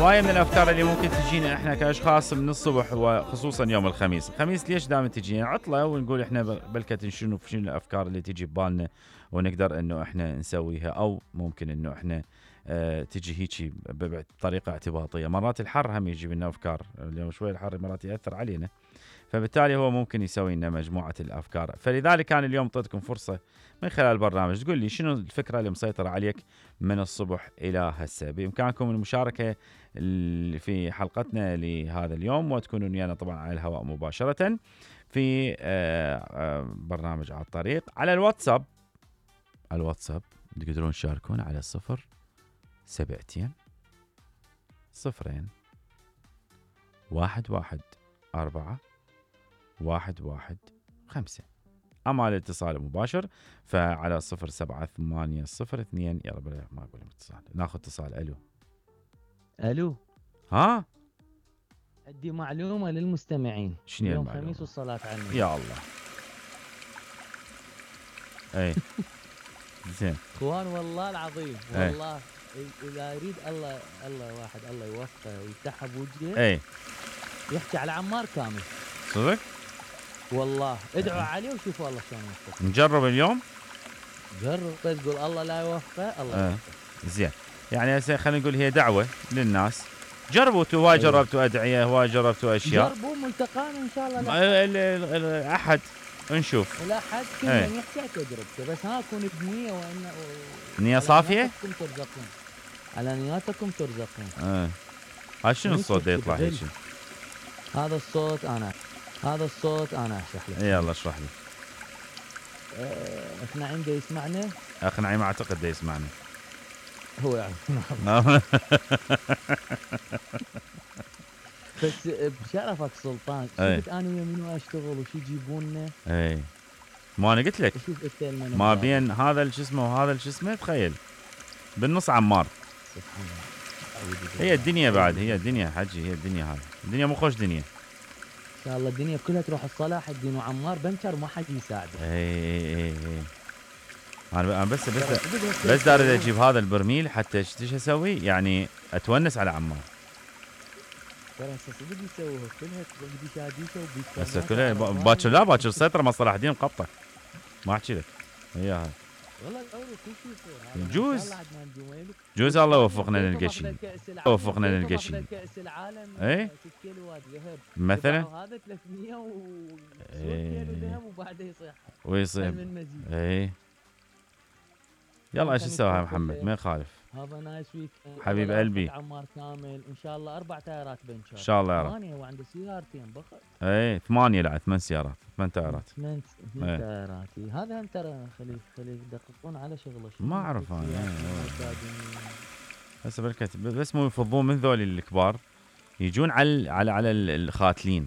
هواية من الافكار اللي ممكن تجينا احنا كاشخاص من الصبح، وخصوصا يوم الخميس ليش دائما تجينا عطلة، ونقول احنا بلكة شنو الافكار اللي تجي ببالنا ونقدر انه احنا نسويها، او ممكن انه احنا تجي هيك بطريقة اعتباطية. مرات الحر هم يجيب لنا افكار، اليوم شوي الحر مرات يأثر علينا، فبالتالي هو ممكن يسوي لنا مجموعة الافكار. فلذلك كان اليوم اعطيتكم فرصة من خلال البرنامج تقول لي شنو الفكرة اللي مسيطرة عليك من الصبح إلى هسه. بإمكانكم المشاركة في حلقتنا لهذا اليوم، وتكونون ويانا طبعا على الهواء مباشرة في برنامج على الطريق. على الواتساب تقدرون تشاركون على 072 0 1 1 4 1 1 5. أما الاتصال المباشر فعلى 07802. يلا بلا ما أقول اتصال، ناخذ اتصال. ألو ها، عندي معلومة للمستمعين. شنو يوم المعلومة؟ خميس والصلاة على النبي. يا الله. اي زين اخوان والله العظيم والله اذا يريد الله واحد الله يوفقه ويفتحها بوجهه. اي يحكي على عمار كامل صدق والله. ادعوا عليه وشوفوا الله شلون يوفقه. نجرب اليوم. جرب تقول الله لا يوفقه الله يوفقه. زين، يعني هسه خلينا نقول هي دعوة للناس. جربوا هواي، جربتوا أدعية، هواي جربتوا أشياء. جربوا ملتقانا إن شاء الله. الأحد نشوف. الأحد كل من يحكي تجربته، بس ها كون بنية وإن نية صافية. ترزقون على نياتكم ترزقون. هاي شنو الصوت ده يطلع هيك؟ هذا الصوت أنا أشرح لك. يلا اشرح لي. اقنعي عنده يسمعنا. اقنعي ما أعتقد ده يسمعنا. هو يعرف. بس بشرفك سلطان شفت انا ويا اشتغل وش يجيبوننا. ما انا قلت لك ما بين هذا الجسمه وهذا الجسمه، تخيل بالنص عمار. سبحان الله. هي الدنيا بعد، هي الدنيا حجي، هي الدنيا هاي الدنيا مو خوش دنيا. ان شاء الله الدنيا كلها تروح الصلاح الدين وعمار بنكر ما حد يساعده. اي انا بس داري اجيب هذا البرميل حتى ايش اسوي، يعني اتونس على عمار. ترى هسه صدق يسووها كلها بدي شاديشه وبيتكلم. هسه كلها باكر السيطره مع صلاح الدين مقبطه. ما احكي لك اياها. والله الاول كل شيء يصير. جوز الله يوفقنا نلقى شيء. وفقنا نلقى شيء. كاس العالم اي 6 كيلوات ذهب مثلا. هذا 300 كيلو ذهب وبعدها ويصيح اي. يلا ايش نسوي يا محمد؟ ما يخالف. هذا نايس ويك حبيب قلبي. عمار كامل ان شاء الله 4 تايرات بنشر. ان شاء الله يا رب. 8 وعنده سيارتين بخت. 8 لا 8 سيارات 8 تايرات. 8 تايرات. هذا هم ترى خلي يدققون على شغله. ما اعرف انا. هسه بس مو يفضون من ذول الكبار يجون على الخاتلين،